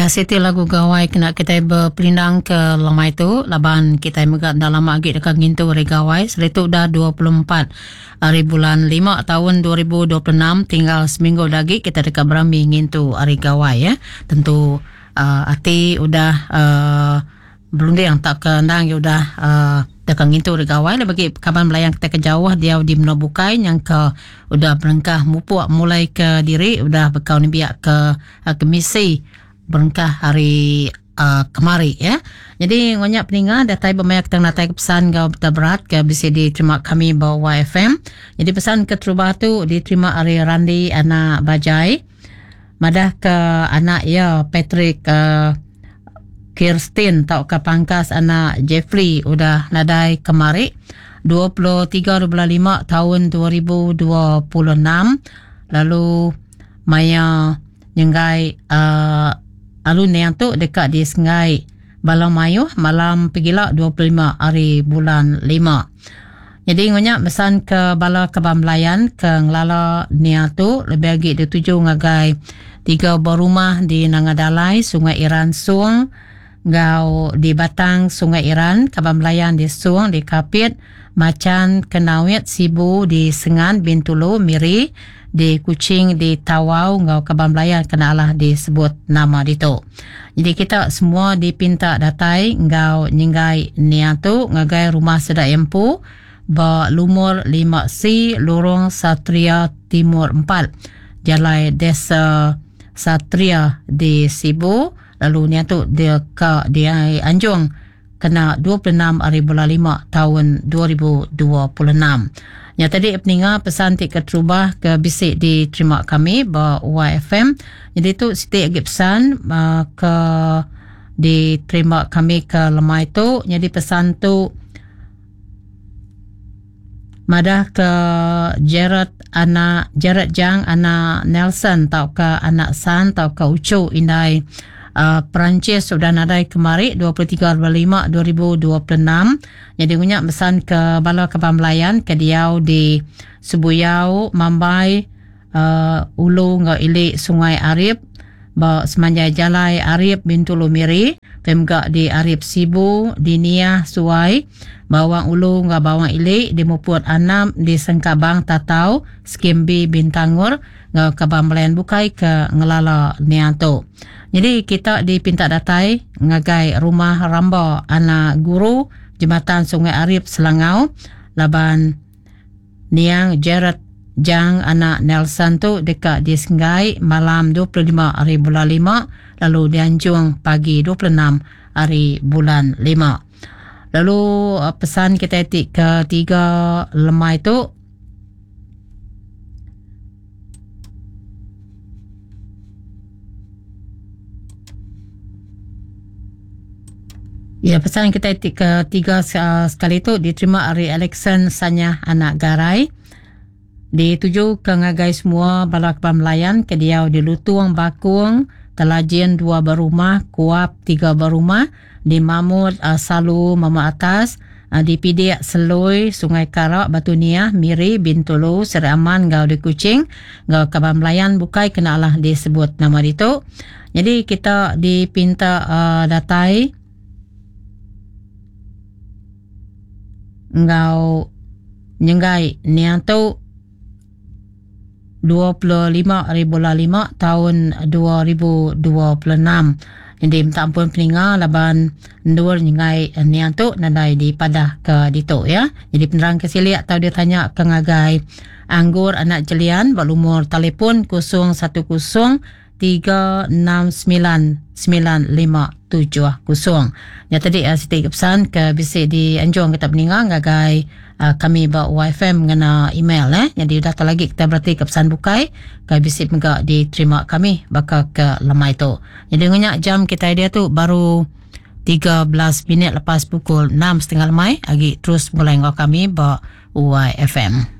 Ya siti lagu gawai kena kitai beperindang ke lemai tu laban kitai mega enda lama agi deka ngintu hari gawai selitu udah 24 hari bulan 5 taun 2026 tinggal seminggu da agi kitai deka berami ngintu hari gawai ya. Tentu uh, ati udah uh, Berunding tauka endang iya udah uhh deka ngintu ri gawai lebih agi kaban belayan kitai ke jauh diau di menua bukai nyangka udah berengkah mupuk mulai ke diri udah bekau nembiak ke kemisi berengkah ari uhh kemari ya. Nyadi enggau nya peninga datai ba maya kitai ngenatai ke pesan enggau berita berat ke bisi diterima kami ba YFM. Nyadi pesan keterubah tu diterima ari Randi anak Bajai. Madah ke anak iya Patrick Kirstin tauka pangkas anak Jeffrey udah nadai kemari 23 bulan lima taun 2026 lalu maya nyenggai uhh lalu niang tu deka disenggai bala mayuh malam pegila 25 hari bulan lima. Nyadi enggau nya mesan ke bala kaban belayan ke ngelala nia tu lebih agi dituju ngagai tiga buah rumah di Nanga Dalai, Sungai Iran Song enggau di Batang Sungai Iran, kaban belayan di Song, di Kapit, Machan, Kenawit, Sibu, di Sengan, Bintulu, Miri, di Kuching, di Tawau enggau kaban belayan ke enda alah disebut nama ditu. Nyadi kita semua dipinta datai enggau nyenggai nia tu ngagai rumah sida iya empu ba lumur 5C Lorong Satria Timur 4, Jalai Desa Satria di Sibu lalu nia tu deka dianjung kena 26 ari bulan lima taun 2026. Nya tadi peninga pesan ti keterubah ke bisi diterima kami ba YFM. Jadi tu siti agi pesan uh, ke diterima kami ke lemai tu. Jadi pesan tu madah ke Gerard anak Gerard Jang anak Nelson tauka anak San tauka uchu indai uh, Perancis udah nadai kemari 23 5 2026 jadi ngunya mesan ke bala kaban belayan ke diau di Sebuyau Mambai uh, Ulu enggau Ili Sungai Arip ba semanjai jalai Arip Bintulu Miri Pia mega di Arip Sibu, di Niah Suai, Bawang Ulu enggau Bawang Ili, di Muput Anap, di Sengkabang Tatau, Skim B Bintangor enggau kaban belayan bukai ke ngelala nia tu. Nyadi kita dipinta datai ngagai Rumah Ramba Anak Guru, Jematan Sungai Arip Selangau laban Niang Gerard Jang anak Nelson tu deka disenggai malam 25 hari bulan lima lalu dianjung pagi 26 hari bulan lima. Lalu pesan kitai ti ketiga lemai tu Ya pesan kitai ti ketiga sekali tu diterima ari Alexson Sanyah anak Garai dituju ke ngagai semua bala kaban belayan ke diau di Lutung Bakung, Telajin dua berumah, Kuap tiga berumah, di Mamut Salu Mamut Atas, di Pidik Selui Sungai Kara Batu Niah Miri Bintulu Seri Aman enggau di Kuching enggau kaban belayan bukai kena alah disebut nama ditu. Nyadi kita dipinta uh, datai enggau nyenggai niang tu 25 hari bulan 5 tahun 2026. Jadi minta ampun peninga laban endur nyenggai niang tu nadai dipadah ke ditu ya. Jadi penerang ke silik tau dia tanya ke ngagai Anggur anak Jelian ba lumur telefon 010 369 9570. Nya tadi uh, siti pesan ke bisi dianjung kita peninga ngagai uh, kami ba YFM ngena email eh. Jadi udah tak lagi kita berarti ke pesan bukai ke bisi mega diterima kami baka ke lemai tu. Jadi ngenyak jam kita dia tu baru 13 minit lepas pukul 6.30 lemai agi terus mulai enggau kami ba YFM.